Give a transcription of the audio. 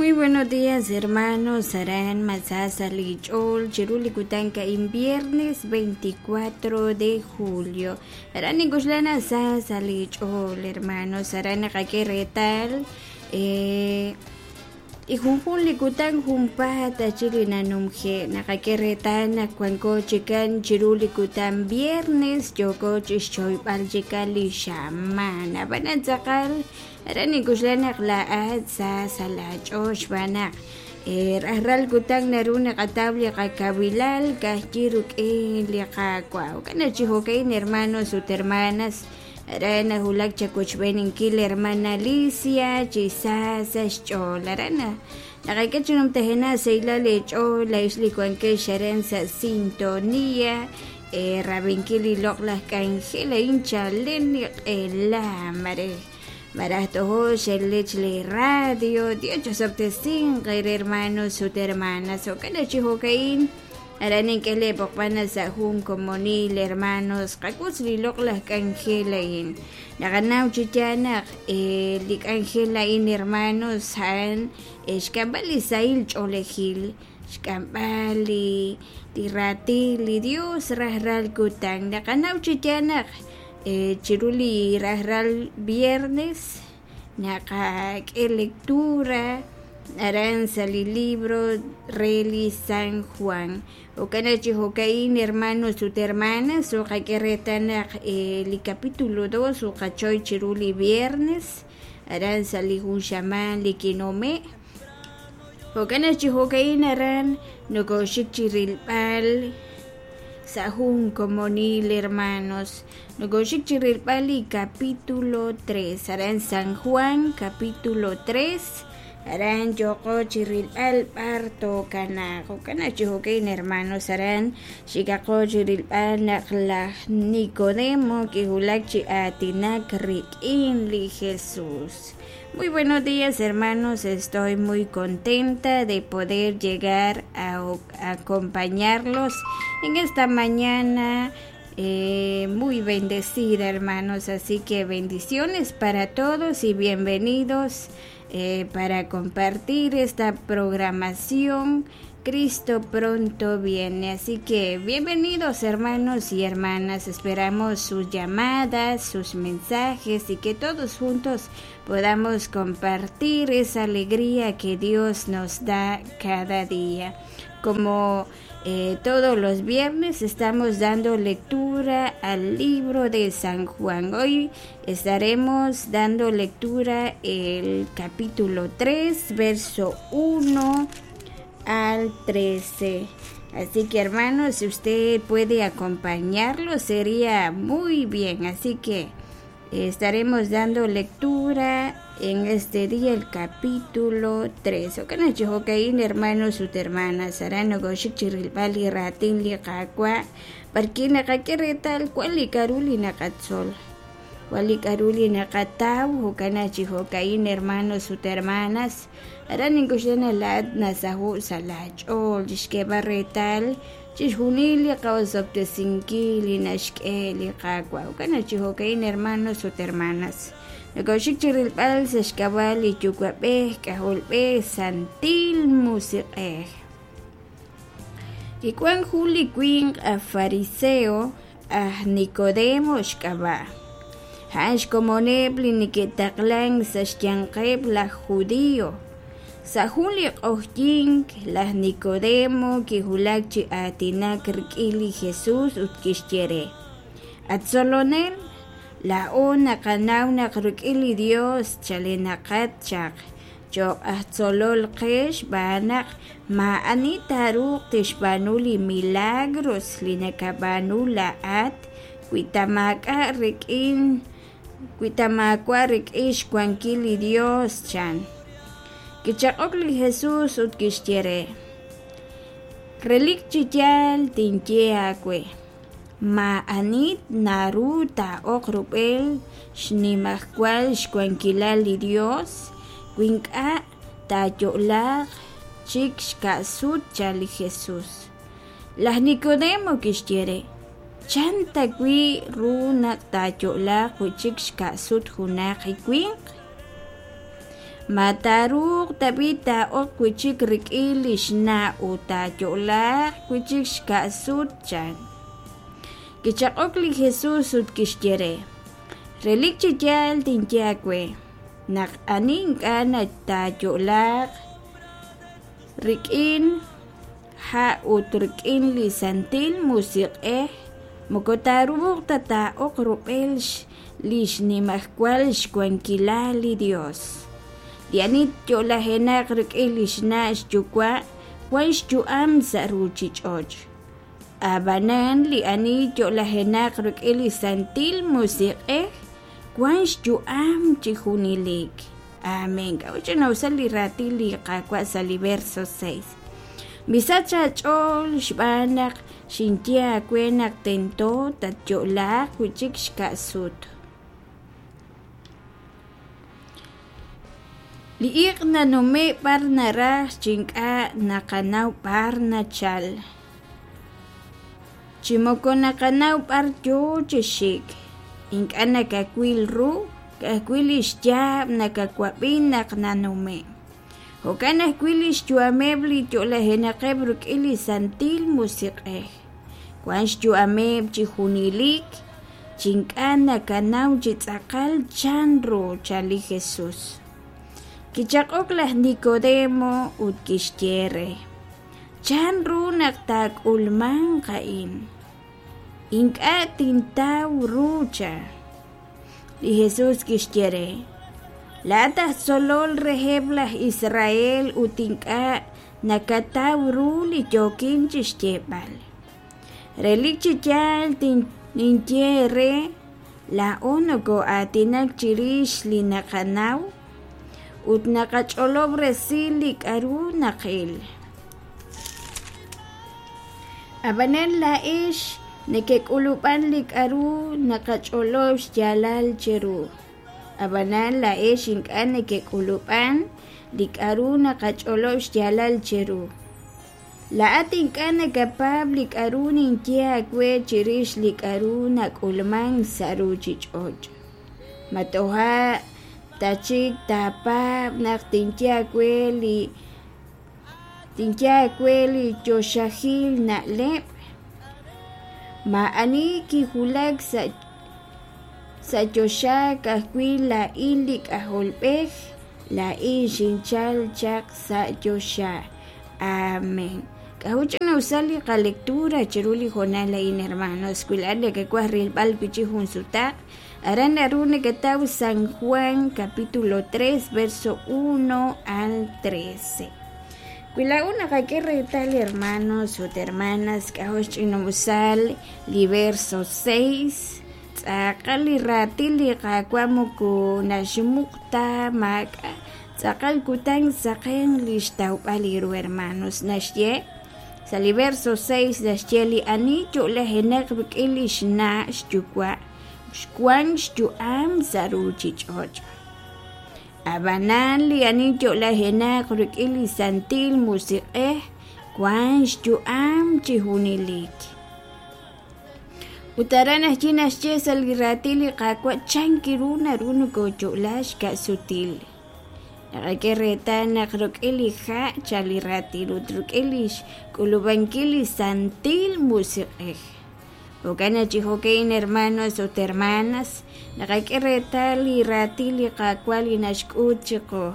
Muy buenos días, hermanos. Aran Masasa Lichol, Chiruli Kutanka, en viernes 24 de julio. Aran Nikuslana Sasa Lichol, hermanos. Aran Retal. Y junjun likutan junpata chili nanumje naqak'e wanko chikan chiru likutan viernes yoko chixchoyb'al chikan li xaman ab'anan tz'aqal aran ninkuxlan naq la'at sa sa lach'ool xb'aan naq rajlal kutan naru naqataw li qakawilal kajyi ruk'in li Qaawa' jo'kan chi jo'ka'in hermanos ut hermanas aran najulak chawochb'eeninkil hermana Alicia chi sa sa xch'ool aran naqak'e chi numtajena sahilal eech'ool laa'ix li wankex aran sa sintonía rab'inkil li loq'laj k'anjel a'in chalen li q'ela mare maraj tojo xelech li radio Dios chosob'tesinq hermanos ut hermanas jo'kan chi jo'ka'in aran ink'e leeb'oqb'an sa' jun komonil hermanos qak'utz li loq'laj k'anjel a'in naqanaw chi yaal naq li k'anjel a'in hermanos a'an xk'amb'al li sahil ch'oolejil xk'amb'al li raatin li Dios rajlal kutan naqanaw chi yaal naq chiru li rajlal viernes naqak'e lectura aran sa li libro re li San Juan jo'kan chi jo'ka'in hermanos ut hermanas uqak'e reetal naq li capítulo 2 uqachoy chiru li viernes aran sa li jun xamaan li kinome' jo'kan chi jo'ka'in aran nokoxik chi rilb'al sa jun komonil hermanos nokoxik chi rilb'al li capítulo 3 aran San Juan capítulo 3 aran yoko chi rilb'al b'ar tokanaq jo'kan chi jo'ka'in hermanos aran xikaqo chi rilb'al naq laj Nicodemo kijulak chi aatinak rik'in li Jesús. Muy buenos días, hermanos, estoy muy contenta de poder llegar a acompañarlos en esta mañana muy bendecida, hermanos, así que bendiciones para todos y bienvenidos para compartir esta programación. Cristo pronto viene, así que bienvenidos hermanos y hermanas, esperamos sus llamadas, sus mensajes y que todos juntos podamos compartir esa alegría que Dios nos da cada día. Como todos los viernes estamos dando lectura al libro de San Juan. Hoy estaremos dando lectura el capítulo 3, verso 1 al 13. Así que hermanos, si usted puede acompañarlo sería muy bien. Así que estaremos dando lectura en este día el capítulo 3. Jo'kan chi jo'ka'in hermanos ut hermanas aran nokoxik chi rilb'al li raatin li Qaawa' b'arki naqak'e reetal wan li k'a'ru li naqatzol wan li k'a'ru li naqataw jo'kan chi jo'ka'in hermanos ut hermanas aran ninkuxlan la'at nasaho' sa lach'ool chixk'eeb'al reetal chixjunil li qaosob'tesinkil li naxk'e li Qaawa' jo'kan chi jo'ka'in hermanos ut hermanas nokoxik chi rilb'al sa xk'ab'a' li Yuwa'b'ej K'ajolb'ej Santil Musiq'ej. Kiwan jun li winq aj fariseo aj Nicodemo xk'ab'a' a'an xkomoneb' li neke'taqlan sa xyanqeb' laj judío. Sa jun li q'oqyink laj Nicodemo kijulak chi aatinak rik'in li Jesús ut kixye re: At tzolonel, la'o naqanaw naq rik'in li Dios chalenaqat chaq cho'q aj tzolol qe xb'aan naq ma'ani taaruuq tixb'aanu li milagros li nakab'aanu la'at wi ta maak'a' rik'in wi ta maawa' rik'in xwankil li Dios chan. Kichaq'ok li Jesús ut kixye re: Relik chi yaal tinye aawe ma'ani naru taa'oq rub'el xnimajwal xwankilal li Dios wi ink'a' taayo'laaq chik xka'sut chan li Jesús. Laj Nicodemo kixye re: Chan ta wi' ru naq taayo'laaq wi' chik xka'sut junaq li winq? Ma taaruuq tab'i' taa'ok wi' chik rik'in li xna' ut taayo'laaq wi' chik xka'sut? chan. Kichaq'ok li Jesus ut kixye re, Relik chi yaal tinye aawe, naq ani ink'a' taayo'laaq rik'in ha' ut rik'in li Santil Musiq'ej, moko taaruuq ta taa'ok rub'el li xnimajwal xwankilal li Yos. Li ani yo'lajenaq rik'in li xna' xyuwa' wan xyu'am sa' ruuchich'och'. Ab'anan li ani yo'lajenaq rik'in li Santil Musiq'ej wan xyu'am chi junelik. Amén. K'a'ut ch'ina'usal li raatin li Qaawa' sa' li verso 6? Misach aach'ool xb'aan naq xinye aawe naq tento tatyo'laaq wi' chik xka'sut. Li iq' nanume'k b'ar naraj chi ink'a' naqanaw b'ar nachal, chi moko naqanaw b'ar yo chi xik. Ink'a' nakawil ru, ka'ajwi' li xyaab' nakawab'i naq nanume'k. Jo'kan ajwi' li xyu'ameb' li yo'lajenaqeb' rik'in li Santil Musiq'ej. Wank xyu'ameb' chi junelik, chi ink'a' nakanaw chi tz'aqal chanru, chan li Jesus. Kichaq'ok laj Nikodemo ut kixye re, Chanru naq taak'ulmanq a'in? Ink'a' tintaw ru, chan. Li Jesus kixye re, Laa'at aj tzolol reheb' laj Israel ut ink'a' nakataw ru li yookin chi xyeeb'al. Relik chi yaal ninye eere, laa'o nokoo'aatinak chirix li naqanaw ut naqach'olob' resil li k'aru naqil. Ab'anan laa'ex nekek'ulub'an li k'aru naqach'olob' xyaalal cheru. Ab'anan laa'ex ink'a' nekek'ulub'an li k'aru naqach'olob' xyaalal cheru. Laa'at ink'a' nakapaab' li k'aru ninye aawe chirix li k'aru nak'ulmank sa' ruuchich'och'. Ma toja' ta chik taapaab' naq tinye aawe li choxahil na'leb'? Maa'ani kiwulak sa' choxa, ka'ajwi' laa'in li K'ajolb'ej, laa'in xinchalk chaq sa' choxa. Amén. K'a'ut ch'ina'usal li qalectura chiru li hoonal a'in, hermanos? Wi laa'at nakawaj rilb'al wi' chik jun sutaq, aran naru nakataw San Juan capítulo 3 verso 1 al 13. Wi laa'o naqak'e reetal, hermanos ut hermanas, k'a'jo' xch'ina'usal li verso 6, tz'aqal li raatin li Qaawa' moko naxmuq ta maak'a' tz'aqal kutan saqen li xtawb'al ru hermanos naxye sa' li verso 6 naxye li ani yo'lajenaq rik'in li xna' xyuwa' xwank xyu'am sa' ruuchich'och'. Ab'anan li ani yo'lajenaq rik'in li Santil Musiq'ej wank xyu'am chi junelik. Ut aran ajwi' naxye sa' li raatin li Qaawa' chan ru naru nokoyo'la xka'sutil. Naqak'e reetal naq rik'in li ha' chan li raatin ut rik'in li xk'ulub'ankil li Santil Musiq'ej. Jo'kan naq chi jo'ka'in hermanos ut hermanas, naqak'e reetal li raatin li Qaawa' li naxk'ut chiqu.